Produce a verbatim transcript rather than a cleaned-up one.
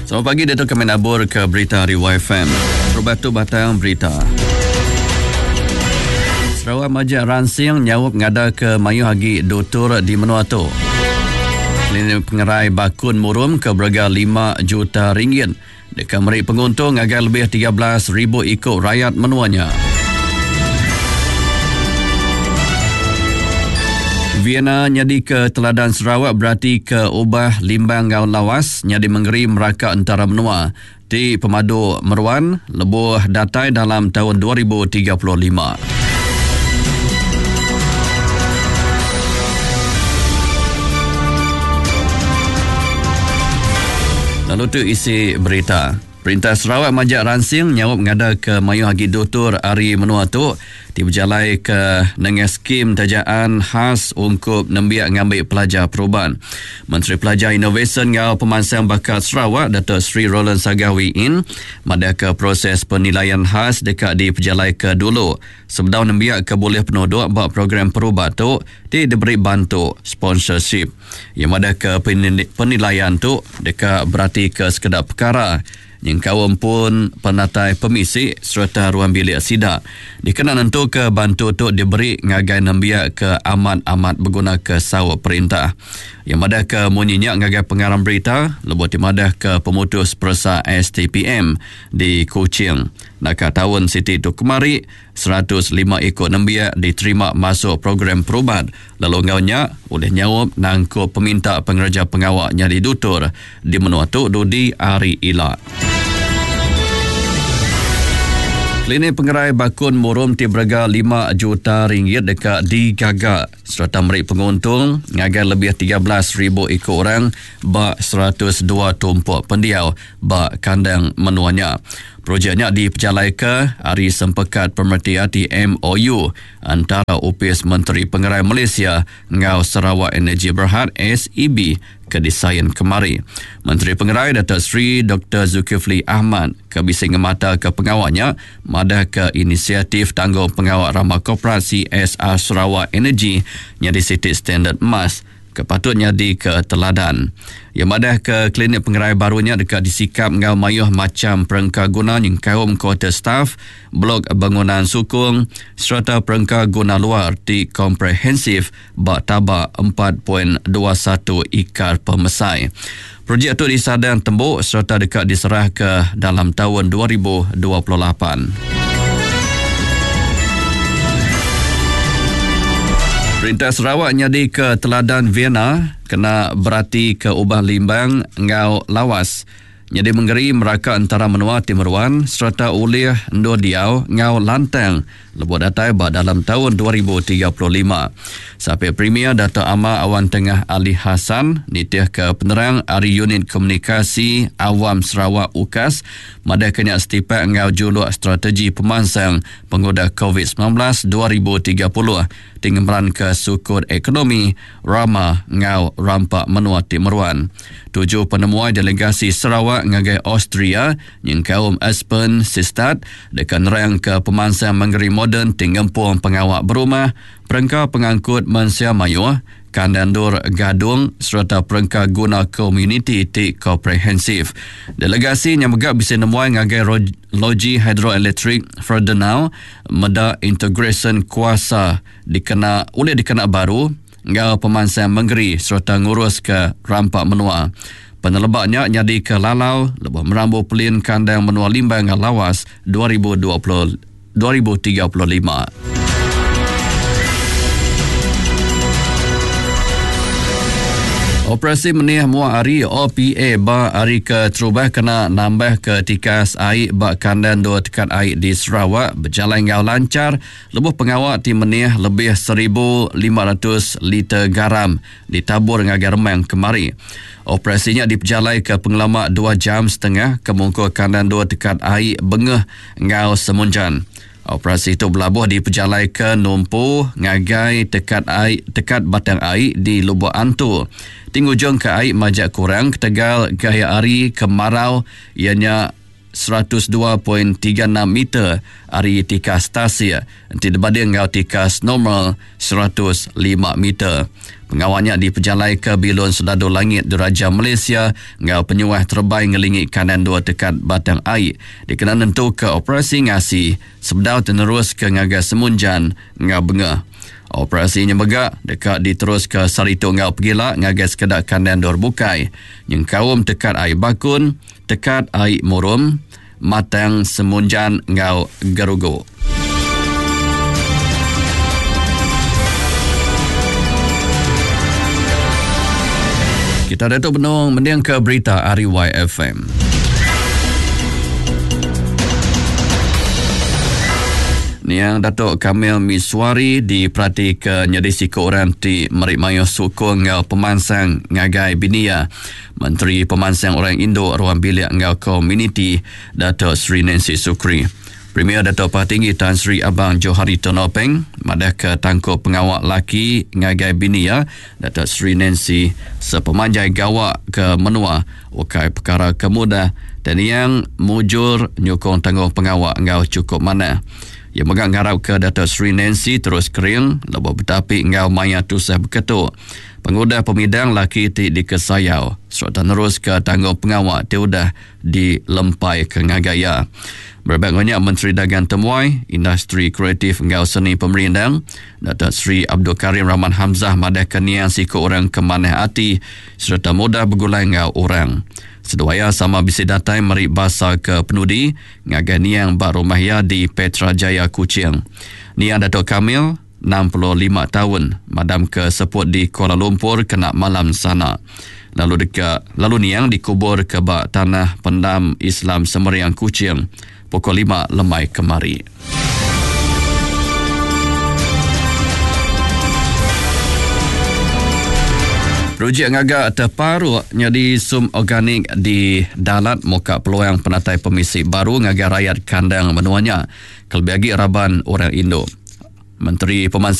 Selamat pagi, Dato' kami nabur ke berita hari Y F M. Terubah tu batang berita. Sarawak Majak Ransing nyawap ngada ke mayuh agi dutur di menua tu. Klinik Pengerai Bakun Murum ke berega lima juta ringgit. Deka meri penguntung agar lebih tiga belas ribu ikut rakyat menuanya. Vienna nyadi ke teladan Sarawak berarti ke ubah limbang ngau lawas nyadi mengeri meraka antara menua ti pemadu meruan lebuh datai dalam tahun dua ribu tiga puluh lima. Lalu tu isi berita. Perintah Sarawak majak ransing nyawap ngada ke mayuh agi dutur ari menua tu ti berjalai ke nengah skim tajaan khas ungkup nembiak ngambil pelajar perubahan. Menteri Pelajar Inovasi ngau Pemansang Bakat Sarawak Datuk Seri Roland Sagah Wee Inn madah ke proses penilaian khas dekat diperjalai ke dulu sebedau nembiak ke boleh penuduk bak program perubat tu ti diberi bantu sponsorship. Yang madah ke penilaian tu dekat berarti ke sekedar perkara yang kaum pun penatai pemisi serta ruang bilik sidak. Dikena nentu ke bantu tu diberi ngagai nembiak ke amat-amat berguna ke sawak perintah. Yang madah ke munyinya ngagai pengarang berita, lebuh timadah ke pemutus peresa S T P M di Kuching. Naka tahun Siti tu kemari, seratus lima ikut nembiak diterima masuk program perubat. Lalu ngaunya, oleh nyawab nangkup peminta pengerja pengawaknya di dutur di menua tu dudi hari ila. Klinik Pengerai Bakun Murum ti berega lima juta ringgit dekat digagak serta meri penguntung ngagai lebih tiga belas ribu ikut orang bak seratus dua tumpuk pendiau bak kandang menuanya. Projeknya diperjalai ke Hari Sempekat Pemerhati Hati M O U antara Upis Menteri Pengerai Malaysia ngau Sarawak Energy Berhad S E B ke desain kemari. Menteri Pengerai Datuk Seri Doktor Zulkifli Ahmad ke bising ngemata ke pengawaknya madah ke inisiatif tanggung pengawak ramah koperasi S R Sarawak Energy nyadi siti standard emas kepatutnya di ke teladan. Yang madah ke klinik pengerai barunya dekat disikap ngau mayuh macam perengka guna yang kaum kuarter staff, blok bangunan sukung serta perengka guna luar ti komprehensif bak tabak empat titik dua satu ikar pemesai. Projek tu disadang tembuk serta dekat diserah ke dalam tahun dua ribu dua puluh lapan. Perintah Sarawak nyadi ke teladan Vienna kena berarti ke ubah limbang ngau lawas. Nyadi mengeri meraka antara menua Timuruan serta ulih endur diau ngau lantang lebuh datai ba dalam tahun dua ribu tiga puluh lima. Sampai Premier Dato' Amar Awan Tengah Ali Hassan nitih ke penerang ari Unit Komunikasi Awam Sarawak U K A S madah kena setipak ngau juluk strategi pemansang pengudah COVID sembilan belas dua ribu tiga puluh tinggal ke sukut ekonomi rama ngau rampak menua Timuruan. Tujuh penemuai delegasi Sarawak ngagai Austria yang kaum Aspen Sistat dekat nerang ke pemansang mengeri moden tinggempung pengawak berumah, perengka pengangkut mensia mayuh, kandandur gadung serta perengka guna komuniti ti komprehensif. Delegasi yang megak bisa nemuai ngagai logi hidroelektrik Freudenau meda integration kuasa dikena oleh dikena baru ngau pemansang mengeri serta ngurus ke rampak menua. Penelebaknya nyadi ke lalau lebuh merambu pelin kandang menua Limbang Lawas dua ribu dua puluh, dua ribu tiga puluh lima. Operasi Meniah Muak Ari O P A ba hari ke terubah kena nambah ke tikas air ba kandang dua tekat air di Sarawak berjalan ngau lancar lebuh pengawak ti meniah lebih seribu lima ratus liter garam ditabur ngagai remang kemari. Operasinya diperjalai ke pengelama dua jam setengah ke mungkur kandang dua tekat air Bengeh ngau Semunjan. Operasi itu berlabuh di pejalai ke Numpu ngagai tekat air, tekat batang air di Lubuk Antu. Tingujung ke air majak kurang ketegal gaya hari kemarau ianya seratus dua titik tiga enam meter ari tikas tasik enti dibanding enggau tikas normal seratus lima meter. Pengawalnya dipejalai ke Bilun Sedadu Langit Diraja Malaysia enggau penyuah terbai ngelingi kanan dua tekat Batang Ai dikena nentu ke operasi ngasi sebedau terus ke ngagai Semunjan enggau Bengah. Operasi nya mega deka diterus ke Saritu enggau Pegila ngagai sekeda kandang dor bukai nyengkaum tekat ai Bakun, tekat ai Murum, Matang Semunjan enggau Gerugu. Kita datuk benung mending ke berita ari Y F M. Niang Datuk Kamil Miswari diperhati ke nyadi siku orang ti merik mayuh sukung enggau pemansang ngagai binia. Menteri Pemansang Orang Induk Ruang Bilik enggau Komuniti Datuk Seri Nancy Sukri. Premier Datuk Patinggi Tan Sri Abang Johari Tun Openg madah ke tangkup pengawal laki ngagai binia Datuk Seri Nancy sepemanjai gawak ke menua ukai perkara kemudah dan yang mujur nyukong tanggung pengawal enggau cukup mana. Ia megang ngarap ke Datuk Seri Nancy terus kering lebuh betapi enggau maya tusah beketuk. Pengudah pemidang laki ti dikesayau serta nerus ke tanggung pengawal ti udah dilempai ke ngagai ia. Berbak banyak Menteri Dagang Temuai, Industri Kreatif enggau Seni Pemerindang, Datuk Seri Abdul Karim Rahman Hamzah madah ke niang siku orang kemanah ati serta mudah begulai enggau orang. Seduaya sama bisi datai meri basa ke penudi ngagai niang ba rumah ia di Petra Jaya Kuching. Niang Datuk Kamil enam puluh lima tahun madam ke seput di Kuala Lumpur kena malam sana. Lalu deka lalu niang dikubur ke ba tanah pendam Islam Semeriang Kuching pukul lima lemai kemari. Projek ngagak terparuk nyadi sum organik di Dalat muka peluang penatai pemisi baru ngagai rakyat kandang menuanya. Kelebih lagi raban orang Indo. Menteri Pemansang